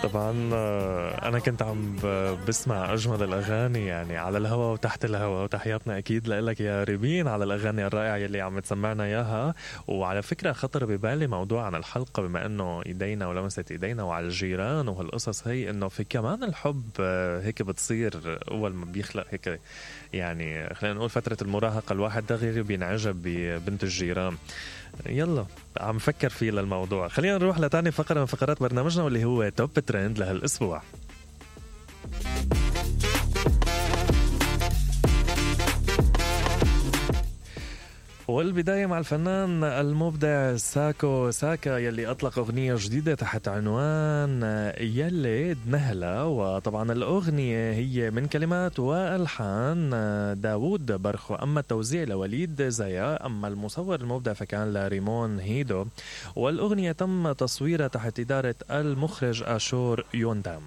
طبعا أنا كنت عم بسمع أجمل الأغاني يعني على الهوا وتحت الهوا، وتحياتنا أكيد لك يا ريمين على الأغاني الرائعة يلي عم تسمعنا إياها. وعلى فكرة خطر ببالي موضوع عن الحلقة بما أنه إيدينا ولمست إيدينا وعلى الجيران وهالقصص هي، أنه في كمان الحب هيك بتصير أول ما بيخلق هيك يعني خلينا نقول فترة المراهقة، الواحد دغري بينعجب ببنت الجيران. يلا عم فكر فيه للموضوع. خلينا نروح لتاني فقرة من فقرات برنامجنا واللي هو توب ترند لهالأسبوع. والبداية مع الفنان المبدع ساكو ساكا يلي أطلق أغنية جديدة تحت عنوان يلي نهلة. وطبعا الأغنية هي من كلمات وألحان داوود برخو، أما التوزيع لوليد زيا، أما المصور المبدع فكان لريمون هيدو. والأغنية تم تصويرها تحت إدارة المخرج آشور يوندام.